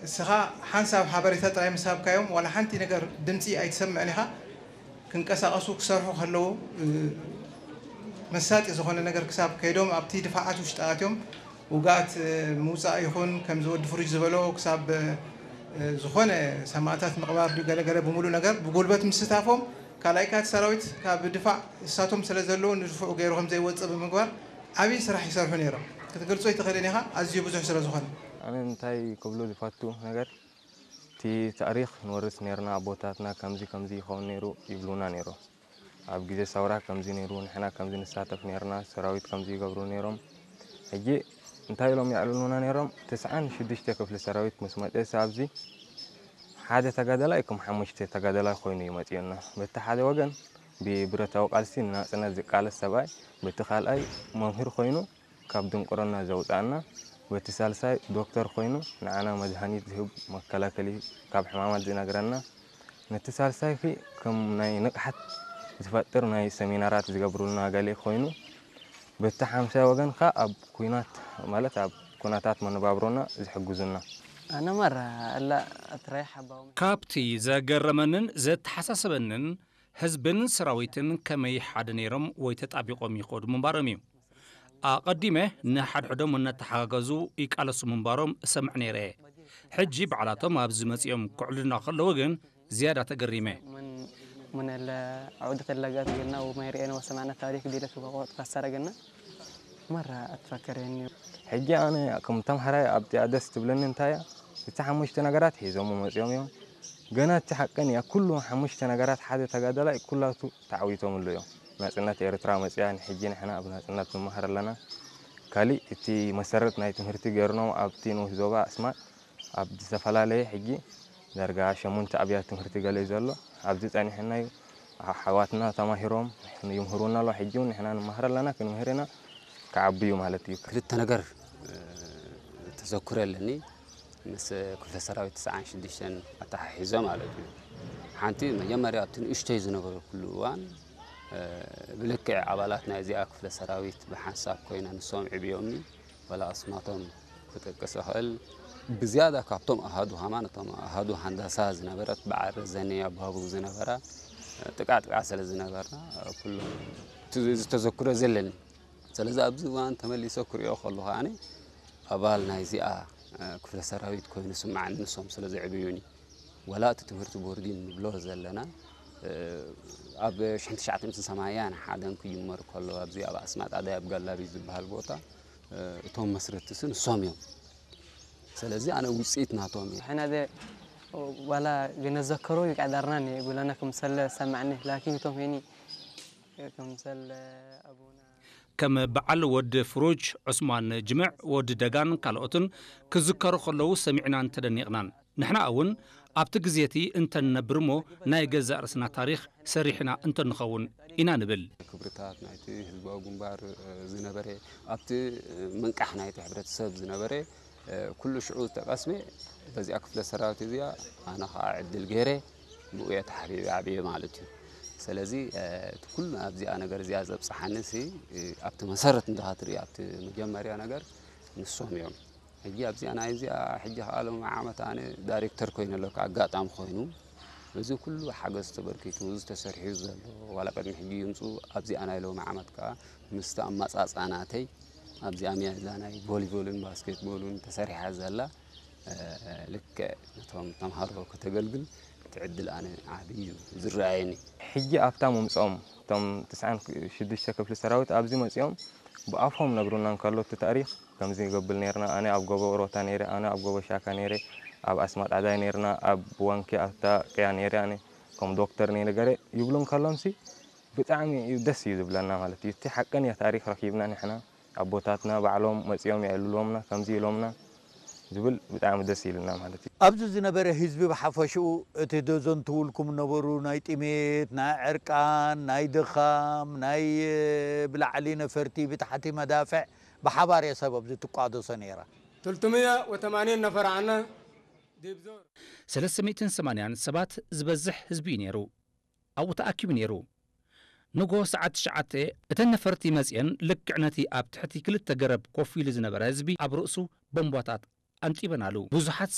እስኻ ሓንሳብ ሓበሬታ ጥራይ ምስ ሃብካዮም ዋላ ሓንቲ ነገር ድምፂ ኣይትሰምዕን ኢኻ። ክንቀሳቐሱ ክሰርሑ ከለዉ መሳጢ ዝኾነ ነገር ክሳብ ከይዶም ኣብቲ ድፋዓት ውሽጢ ኣትዮም ውግኣት ምውፃእ ይኹን ከምዚ ወዲ ፍሩጅ ዝበሎ ክሳብ ዝኾነ ሰማእታት ምቕባር ድዩ ገለገለ ብምሉእ ነገር ብጉልበት ምስታፎም ካልኣይ ካት ሰራዊት ካብ ድፋዕ እሳቶም ስለ ዘለዉ ንድፍዑ ገይሩ ከም ዘይወፅእ ብምግባር ዓብዪ ስራሕ ይሰርሑ ነይሮም። ክትገልጾ ኣይትኽእልን ኢኻ ኣዝዩ ብዙሕ ስለ ዝኾነ። ኣነ እንታይ ክብሎ ዝፈቱ ነገር እቲ ታሪኽ ንወርስ ነርና ኣቦታትና ከምዚ ከምዚ ይኸውን ነይሩ ይብሉና ነይሮም። ኣብ ግዜ ሰውራ ከምዚ ነይሩ ንሕና ከምዚ ንሳተፍ ነርና ሰራዊት ከምዚ ይገብሩ ነይሮም። ሕጂ እንታይ ኢሎም የዕልሉና ነይሮም? ትስዓን ሽዱሽተ ክፍሊ ሰራዊት ምስ መጠስ ኣብዚ ሓደ ተጋደላይ ከም ሓሙሽተ ተጋደላይ ኮይኑ እዩ መፂኡና። በቲ ሓደ ወገን ብብረታዊ ቃልሲ ንናፅነት ዝቃለስ ሰብኣይ፣ በቲ ካልኣይ መምህር ኮይኑ ካብ ድንቁርና ዘውፅኣና፣ በቲ ሳልሳይ ዶክተር ኮይኑ ንዓና መድሃኒት ዝህብ መከላከሊ ካብ ሕማማት ዝነግረና፣ ነቲ ሳልሳይ ኺ ከም ናይ ንቕሓት ዝፈጥር ናይ ሰሚናራት ዝገብሩልና ገለ ኮይኑ፣ በቲ ሓምሳይ ወገን ኸ ኣብ ኩናት ማለት ኣብ ኩነታት መነባብሮና ዝሕግዙና። ኣነ መራ ኣላ ኣትራይ ሓባው ካብቲ ዘገረመንን ዘተሓሳሰበንን ህዝብን ሰራዊትን ከመይ ሓደ ነይሮም ወይ ተጣቢቖም ይኸዱ ምንባሮም እዩ። ኣቐዲመ ንሓድሕዶም እናተሓጋገዙ ይቃለሱ ምንባሮም እሰምዕ ነይረ። ሕጂ ባዕላቶም ኣብዚ መጺኦም ክዕልሉና ከለዉ ግን ዝያዳ ተገሪመ። من من العقدة اللقات قلنا وما يرئينا وسمعنا تاريخ ديلة وقت كسر قلنا مرة أتفكر يعني. ሕጂ ኣነ ከም ተምሃራይ ኣብቲኣ ደስ ትብለኒ እንታይ እያ? እቲ ሓሙሽተ ነገራት ሒዞም መፂኦም እዮም። ገና እቲ ሓቀን እያ ኩሉ ሓሙሽተ ነገራት ሓደ ተጋዳላይ ኩላቱ ተዓዊቶምሉ እዮም። ናፅነት ኤርትራ መፅያ ንሕጂ ንሕና ኣብ ናፅነት ንመሃር ኣለና። ካሊእ እቲ መሰረት ናይ ትምህርቲ ገይርኖም ኣብቲ ንኡስ ዞባ ኣስማጥ ኣብ ዝተፈላለየ ሕጂ ዳርጋ ሸሙንተ ኣብያት ትምህርቲ ገለ እዩ ዘሎ። ኣብዚ ጸኒሕና እዩ። ኣሕዋትና ተማሂሮም ይምህሩና ኣለዉ። ሕጂ እውን ንሕና ንመሃር ኣለና፣ ክንምህር ኢና። ክዓቢ እዩ ማለት እዩ። ክልተ ነገር ተዘክሮ ኣለኒ ምስ ክፍለ ሰራዊት ትስዓን ሽዱሽተን ኣተሓሒዞ ማለት እዩ። ሓንቲ መጀመርያ ኣብቲ ንእሽተይ ዝነበርኩሉ እዋን ብልክዕ ኣባላት ናይ እዚኣ ክፍለ ሰራዊት ብሓንሳብ ኮይና ንሶም ዕብዮምኒ ዋላ ኣስማቶም ክጠቅስ እኽእል። ብዝያዳ ካብቶም ኣሃዱ ሃማን እቶም ኣሃዱ ሃንዳሳ ዝነበረት በዓል ረዘነ ኣባቡ ዝነበራ ጥቃ ጥቃ ስለ ዝነበርና ኩሎም እቲ ዝተዘክሮ ዘለኒ። ስለዚ ኣብዚ እዋን ተመሊሰ ክሪኦ ከለኹ ኣነ ኣባል ናይዚኣ ክፍለ ሰራዊት ኮይኑ ስማዕኒ ንሶም ስለ ዘዕብዩኒ። ወላ እቲ ትምህርቲ ቦርዲን ንብሎ ዘለና ኣብ ሽሕን ትሽዓተ ሚእትን ሰማንያን ሓደን ክጅመር ከሎ ኣብዚ ኣብ ኣስማጣ ዳይ ኣብ ጋላቢ ዝበሃል ቦታ እቶም መስረትቲ ንሶም እዮም። ስለዚ ኣነ ውፅኢት ናቶም እየ። ሕና ደ ዋላ ግነዘከሮ ይቃዳርና ነ ብለና ክምሰለ ሰማዕኒ ላኪን እቶም ሄኒ ክምሰለ ኣቡና ከም በዓል ወዲ ፍሩጅ፣ ዑስማን ጅምዕ፣ ወዲ ደጋን ካልኦትን ክዝከሩ ከለዉ ሰሚዕናን ተደኒቕናን። ንሕና እውን ኣብቲ ግዜ እቲ እንተንነብር እሞ ናይ ገዛእ ርእስና ታሪኽ ሰሪሕና እንተንኸውን ኢና ንብል። ክብርታት ናይቲ ህዝባዊ ግንባር ዝነበረ ኣብቲ ምንቃሕ ናይቲ ሕብረተሰብ ዝነበረ ኩሉ ሽዑ ዝተቐስመ በዚኣ ክፍለ ሰራዊት እዚኣ ኣነ ከዓ ዕድል ገይረ ብኡ እየ ተሓቢበ ዓብየ ማለት እዩ። ስለዚ እቲ ኩሉ ኣብዚኣ ነገር እዚኣ ዘብፅሓኒ ሲ ኣብቲ መሰረት እንድኻ ትርኢ ኣብቲ መጀመርያ ነገር ንሶም እዮም። ሕጂ ኣብዚኣ ናይ እዚኣ ሕጂ ከዓ ሎም ዓመት ኣነ ዳይሬክተር ኮይኑ ኣለኩ ኣጋጣሚ ኮይኑ እዚ ኩሉ ሓገዝ ተበርኪቱ እዚ ተሰሪሑ ዘሎ ዋላ ቅድሚ ሕጂ ይምፁ ኣብዚኣ ናይ ሎም ዓመት ከዓ ምስቲ ኣመፃፃናተይ ኣብዚኣ ሚያ እዛ ናይ ቮሊቦልን ባስኬትቦልን ተሰሪሓ ዘላ ልክዕ ነቶም ተምሃሮ ከተገልግል እቲ ዕድል ኣነ ዓብዪ እዩ ዝረኣየኒ። ሕጂ ኣብታ ምምፅኦም እቶም ትስዓን ሽዱሽተ ክፍሊ ሰራዊት ኣብዚ መፂኦም ብኣፎም ነግሩና እንከሎ እቲ ታሪክ ከምዚ ይገብል ነርና ኣነ ኣብ ጎቦ ሮታ ነይረ ኣነ ኣብ ጎቦ ሻካ ነይረ ኣብ ኣስማጣዳይ ነርና ኣብ ዋንኪ ኣብታ ቅያ ነይረ ኣነ ከም ዶክተር ነይረ ገረ ይብሉ እንከሎምሲ ብጣዕሚ እዩ ደስ እዩ ዝብለና ማለት እዩ። እቲ ሓቀኛ ታሪኽ ረኺብና ንሕና ኣቦታትና ባዕሎም መፂኦም የዕልልዎምና ከምዚ ኢሎምና ዝብል ብጣዕሚ ደስ ኢልና ማለት እዩ። ኣብዚ ዝነበረ ህዝቢ ብሓፈሽኡ እቲ ዘዘንትውልኩም ነበሩ ናይ ጥሜት፣ ናይ ዕርቃን፣ ናይ ድኻም፣ ናይ ብላዕሊ ነፈርቲ ብታሕቲ መዳፍዕ ብሓባር እየ ሰብ ኣብዚ ትቋደሶ ነይራ። تلتمية وتمانين نفر عنا ديبزور. ሰለስተ ሚእትን ሰማንያን ሰባት ዝበዝሕ ህዝቢ እዩ ነይሩ። ኣብኡ ተኣኪቡ ነይሩ። ንጎ ሰዓት ትሽዓተ እተን ነፈርቲ መጺአን ልክዕ ነቲ ኣብ ትሕቲ ክልተ ገረብ ኮፍ ኢሉ ዝነበረ ህዝቢ ኣብ ርእሱ ቦምባታት ኣንጢበናሉ። ብዙሓት